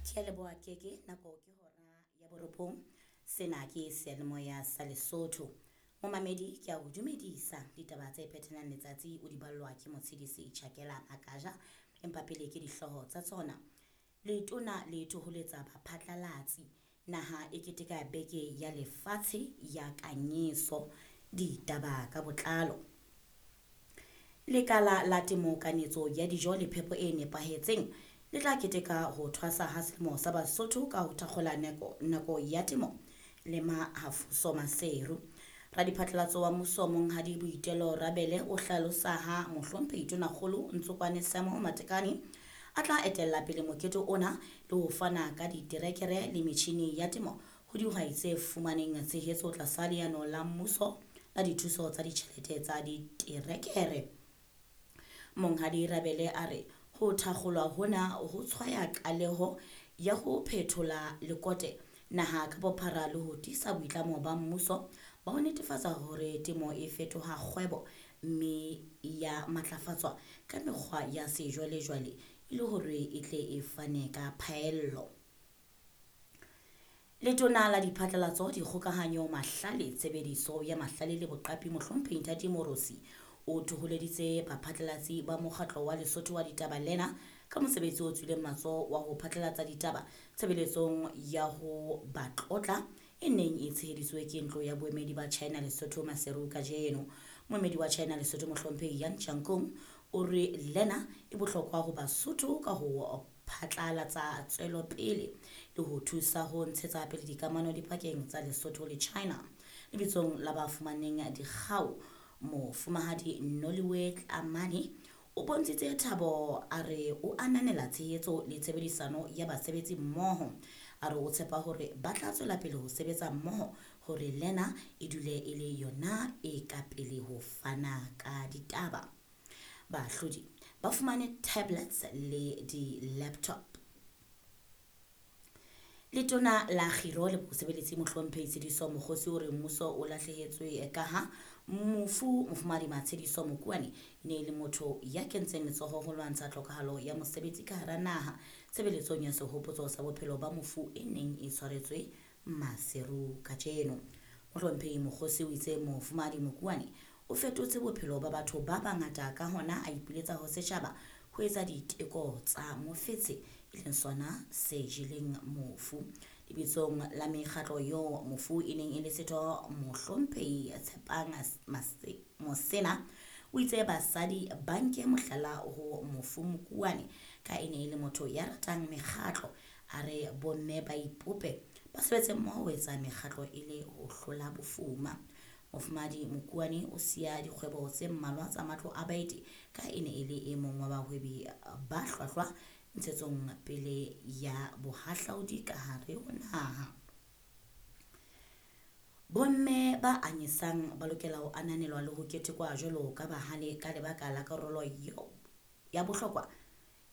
Ke a leboha Keke, nako ke hora ya borobong. Sena ke seyalemoya sa Lesotho. Momamedi ke a o dumedisa ditaba tse phethelang letsatsi o di ballwa ke Motshedisi Chakela Makaja empa pele ke dihlooho tsa tsona. Letona le thoholetsa baphatlalatsi. Naha e keteka beke ya lefatshe ya kanyeso. Ditaba ka botlalo. Lekala la temo kanetso ya dijo le phepo e nepahetseng le tla keteka ho thwasa ha selemo sa Basotho ka ho thakgola nako ya temo le Mahafuso Maseru. Radiphatlalatso wa mmuso Monghadi Boitelo Rabele o hlalosa ha mohlomphehi Tonakgolo Ntsokwane Samuel Matekane a tla etella pele mokete ona le ho fana ka diterekere le metjhini ya temo ho dihwai tse fumaneng tshehetso tlasa leano la mmuso la dithuso tsa ditjhelete tsa diterekere. Monghadi Rabele a re ho thakgolwa hona ho tshwaya qaleho ya ho phethola lekote naha ka bophara le ho tiisa boitlamo ba mmuso ba ho netefatsa hore temo e fetoha kgwebo mme ya matlafatswa ka mekgwa ya sejwalejwale e le hore e tle e fane ka phaello. Letona la Diphatlalatso, Dikgokahanyo, Mahlale, Tshebediso ya Mahlale le Boqapi Mohlomphehi Nthati Morosi o thoholeditse baphatlalatsi ba mokgatlo wa Lesotho wa ditaba lena ka mosebetsi o tswileng matsoho wa ho phatlalatsa ditaba tshebeletsong ya ho ba tlotla e neng e tsheheditswe ke ntlo ya boemedi ba China Lesotho Maseru kajeno. Moemedi wa China Lesotho Mohlomphehi Yang Changkong o re lena e bohlokwa ho Basotho ka ho phatlalatsa tswelopele le ho thusa ho ntshetsa pele dikamano dipakeng tsa Lesotho le China. Lebitsong la ba fumaneng dikgau, Mofumahadi Noliwe Tlamane o bontshitse thabo a re o ananela tshehetso le tshebedisano ya basebetsi mmoho. A re o tshepa hore ba tla tswela pele ho sebetsa mmoho hore lena e dule e le yona e ka pele ho fana ka ditaba. Baahlodi ba fumane tablets le di-laptop. Letona la Kgiro le Bosebeletsi Mohlomphehi Tshediso Mokgosi o re mmuso o lahlehetswe kaha mofu Mofumahadi Matshediso Mokuane e ne e le motho ya kentseng letsoho ho lwantsha tlhokahalo ya mosebetsi ka hara naha tshebeletsong ya sehopotso sa bophelo ba mofu e neng e tshwaretswe Maseru kajeno. Mohlomphehi Mokgosi o itse Mofumahadi Mokuane o fetotse bophelo ba batho ba bangata ka hona a ipiletsa ho setjhaba ho etsa diteko tsa mofetshe e leng sona se jeleng mofu. Lebitsong la mekgatlo eo mofu e neng e le setho Mohlomphehi Tshepang Mosena o itse basadi ba nke mohlala ho mofu Mokuane ka e ne e le motho ya ratang mekgatlo. A re bomme ba ipope ba sebetse mmoho ho etsa mekgatlo e le ho hlola bofuma. Mofumahadi Mokuane o siya dikgwebo tse mmalwa tsa matlo a baeti ka e ne e le e mong wa bahwebi ba hlwahlwa ntshetsong pele ya bohahlaudi ka hare ho naha. Bomme ba anyesang ba lokela ho ananelwa le ho ketekwa jwalo ka bahale ka lebaka la karolo ya bohlokwa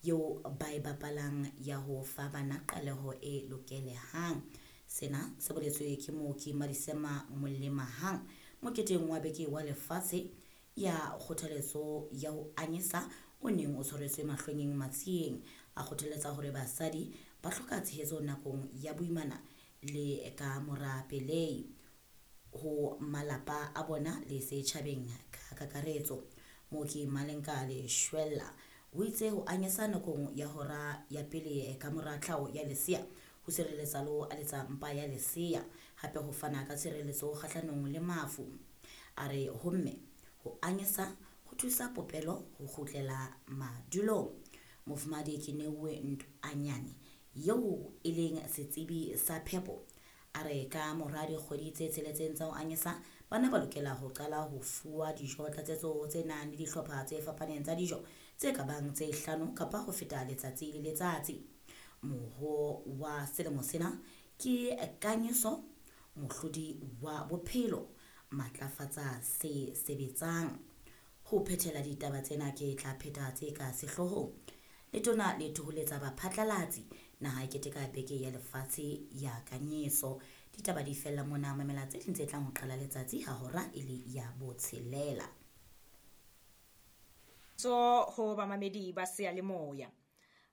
eo ba e bapalang ya ho fa bana qaleho e lokelehang. Sena se boletswe ke mooki Madisema Molemahang moketeng wa beke wa lefatshe ya kgothaletso ya ho anyesa o neng o tshwaretswe Mahlwenyeng Matsieng. A kgothaletsa hore basadi ba hloka tshehetso nakong ya boimana le ka mora pelei ho malapa a bona le setjhabeng ka kakaretso. Mooki Malenka Leshwella o itse ho anyesa nakong ya hora ya pele ka mora tlhaho ya lesea ho sireletsa le ho aletsa mpa ya lesea, hape ho fana ka tshireletso kgahlanong le mafu. A re ho mme ho anyesa ho thusa popelo ho kgutlela madulong. Mofumahadi Keneuwe Ntoanyane eo e leng setsebi sa phepo a re ka mora dikgwedi tse tsheletseng tsa ho anyesa bana ba lokela ho qala ho fuwa dijo tlatsetso tse nang le dihlopha tse fapaneng tsa dijo tse ka bang tse hlano kapa ho feta letsatsi le letsatsi. Moho wa selemo sena ke kanyeso mohlodi wa bophelo matlafatsa se sebetsang. Ho phethela ditaba tsena ke tla pheta tse ka sehloohong. Letona le thoholetsa baphatlalatsi naha e keteka beke ya lefatshe ya kanyeso. Ditaba di fella mona, mamela tse ding tse tlang ho qala letsatsi ha hora e le ya botshelela. Tso ho bamamedi ba seyalemoya.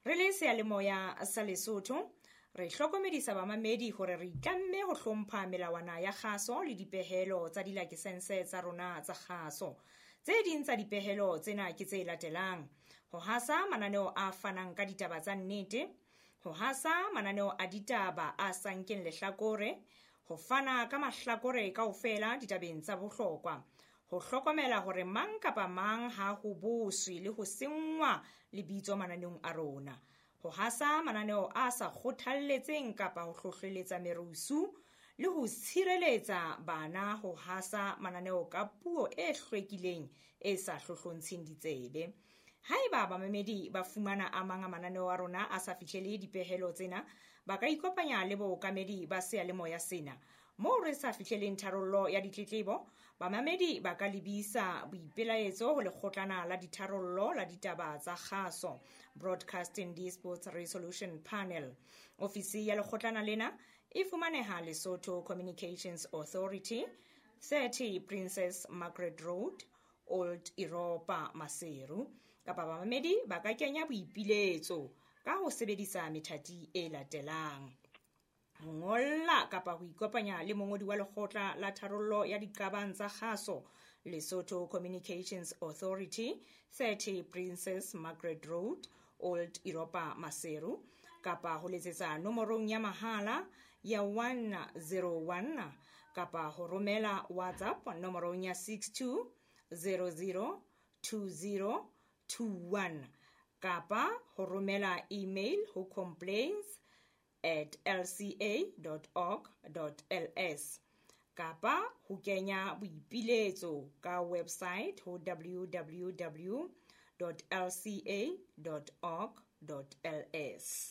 Re le seyalemoya sa Lesotho Re hlokomedisa bamamedi hore re itlamme ho hlompha melawana ya kgaso le dipehelo tsa dilakesense tsa rona tsa kgaso. Tse ding tsa dipehelo tsena ke tse latelang: ho hasa mananeo a fanang ka ditaba tsa nnete, ho hasa mananeo a ditaba a sa nkeng lehlakore, ho fana ka mahlakore kaofela ditabeng tsa bohlokwa, ho hlokomela hore mang kapa mang ha ho boswe le ho senngwa lebitso mananeong a rona, ho hasa mananeo a sa kgothalletseng kapa ho hlohleletsa merusu, le ho tshireletsa bana ho hasa mananeo ka puo e hlwekileng e sa hlohlontsheng ditsebe. Haeba bamamedi ba fumana a mang a mananeo a rona a sa fihlele dipehelo tsena, ba ka ikopanya le bookamedi ba seyalemoya sena. Moo re sa fihleleng tharollo ya ditletlebo, bamamedi ba ka lebisa boipelaetso ho lekgotlana la ditharollo la ditaba tsa kgaso, Broadcasting Disputes Resolution Panel. Ofisi ya lekgotlana lena e fumaneha Lesotho Communications Authority, 30 Princess Margaret Road, Old Europa, Maseru. Kapa bamamedi ba ka kenya boipiletso ka ho sebedisa methati e latelang: ho ngolla kapa ho ikopanya le mongodi wa lekgotla la tharollo ya diqabang tsa kgaso, Lesotho Communications Authority, 30 Princess Margaret Road, Old Europa, Maseru, kapa ho letsetsa nomorong ya mahala ya 101, kapa ho romela WhatsApp nomorong ya 62 00 20 21, kapa ho romela email ho complaints@lca.org.ls, kapa ho kenya boipiletso ka website ho www.lca.org.ls.